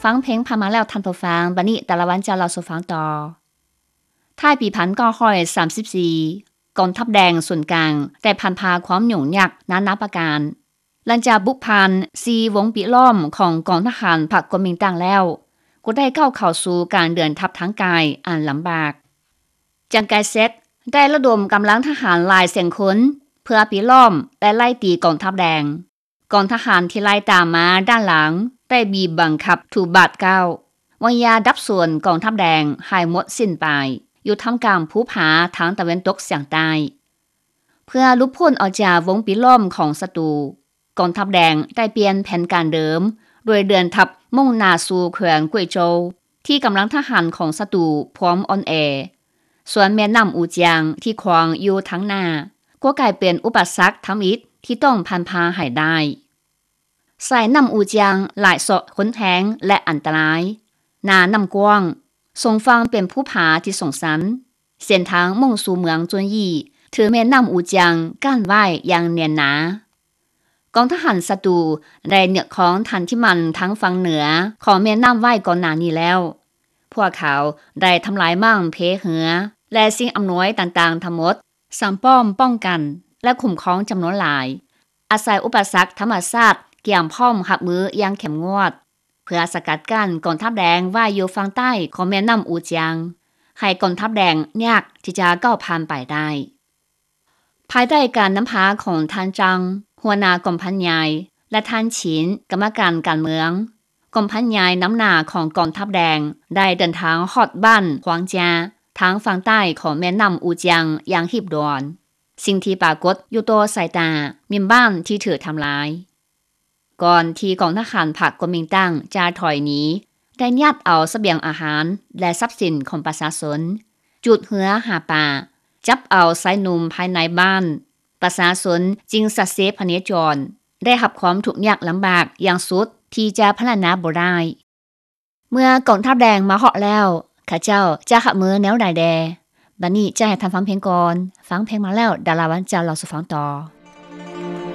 ຟັງເພງຜ່ານມາແລ້ວທ່ານຜູ້ຟັງ, ບັດນີ້ດາລາວັນຈະເລົ່າສູ່ຟັງຕໍ່. ທ້າຍປີພັນເກົ້າຮ້ອຍສາມສິບສີ່ ກອງທັບແດງສູນກາງໄດ້ຜ່ານຜ່າຄວາມຫຍຸ້ງຍາກນານາປະການ. ຫຼັງຈາກບຸກຜ່ານສີ່ວົງປິດລ້ອມຂອງກອງທະຫານພັກກົວມິງຕັ້ງແລ້ວ, ກໍໄດ້ກ້າວເຂົ້າສູ່ການເດີນທັບທາງກາຍອັນລຳບາກ. ຈາງກາຍເຊັດໄດ້ລະດົມກຳລັງທະຫານຫຼາຍແສນຄົນ ເພື່ອປິດລ້ອມ ແລະ ໄລ່ຕີກອງທັບແດງ. ກອງທະຫານທີ່ໄລ່ຕາມມາດ້ານຫຼັງໄດ້ບີບບັງຄັບທຸກບາດກ້າວ, ວາງຢາດັບສູນກອງທັບແດງໃຫ້ໝົດສິ້ນໄປ ຢູ່ທ່າມກາງພູຜາທາງຕາເວັນຕົກສຽງໃຕ້. ເພື່ອຫຼຸດພົ້ນອອກຈາກວົງປິດລ້ອມຂອງສັດຕູ, ກອງທັບແດງໄດ້ປ່ຽນແຜນການເດີມ ໂດຍເດີນທັບມຸ່ງໜ້າສູ່ແຂວງກວຍໂຈວ ທີ່ກຳລັງທະຫານຂອງສັດຕູພວມອ່ອນແອ, ສ່ວນແມ່ນ້ຳອູຈຽງທີ່ຂວາງຢູ່ທາງໜ້າ ກໍກາຍເປັນອຸປະສັກທຳອິດທີ່ຕ້ອງຜ່ານຜ່າໃຫ້ໄດ້. ສາຍນ້ຳອູຈຽງຫຼາຍເຊາະຮຸນແຮງ ແລະ ອັນຕະລາຍ. ໜ້ານ້ຳກວ້າງ, ສອງຝັ່ງເປັນພູຜາທີ່ສູງຊັນ. ເສັ້ນທາງມຸ່ງສູ່ເມືອງຈຸນຢີ້ ຖືກແມ່ນ້ຳອູຈຽງກັ້ນໄວ້ຢ່າງແໜ້ນໜາ. ກອງທະຫານສັດຕູໄດ້ຍຶດຄອງຖານທີ່ໝັ້ນທາງຝັ່ງເໜືອຂອງແມ່ນ້ຳໄວ້ກ່ອນໜ້ານີ້ແລ້ວ. ພວກເຂົາໄດ້ທຳລາຍໝັ້ງເພເຮືອ ແລະ ສິ່ງອຳນວຍຕ່າງໆທັງໝົດ, ສ້າງປ້ອມປ້ອງກັນ ແລະ ຄຸ້ມຄອງຈຳນວນຫຼາຍ, ອາໄສອຸປະສັກທຳມະຊາດກຽມພ້ອມຮັບມືຢ່າງເຂັ້ມງວດ ເພື່ອສະກັດກັ້ນກອງທັບແດງໄວ້ຢູ່ຝັ່ງໃຕ້ຂອງແມ່ນ້ຳອູຈຽງ, ໃຫ້ກອງທັບແດງຍາກທີ່ຈະກ້າວຜ່ານໄປໄດ້. ພາຍໃຕ້ການນຳພາຂອງທ່ານຈັງ, ຫົວໜ້າກອງພັນໃຫຍ່ ແລະ ທ່ານຊິນ, ກຳມະການການເມືອງ, ກອງພັນໃຫຍ່ນຳໜ້າຂອງກອງທັບແດງ ໄດ້ເດີນທາງຮອດບ້ານຂວາງຈາ ທາງຝັ່ງໃຕ້ຂອງແມ່ນ້ຳອູຈຽງຢ່າງຮີບດ່ວນ. ສິ່ງທີ່ປາກົດຢູ່ຕໍ່ສາຍຕາ ແມ່ນບ້ານທີ່ຖືກທຳລາຍ. ກ່ອນທີ່ກອງທະຫານພັກກົວມິງຕັງຈະຖອຍໜີ, ໄດ້ຍັດເອົາສະບຽງອາຫານ ແລະ ຊັບສິນຂອງປະຊາຊົນ, ຈູດເຮືອຫາປາ, ຈັບເອົາຊາຍໜຸ່ມພາຍໃນບ້ານ, ປະຊາຊົນຈຶ່ງສະເສພະເນຈອນ ໄດ້ຮັບຄວາມທຸກຍາກລຳບາກຢ່າງສຸດທີ່ຈະພັນລະນາບໍ່ໄດ້. ເມື່ອກອງທັບແດງມາຮອດແລ້ວ, ເຂົາເຈົ້າຈະຮັບມືແນວໃດແດ່? ບັດນີ້ຈະໃຫ້ທ່ານຟັງເພງກ່ອນ. ຟັງເພງມາແລ້ວ, ດາລາວັນຈະເລົ່າສູ່ຟັງຕໍ່.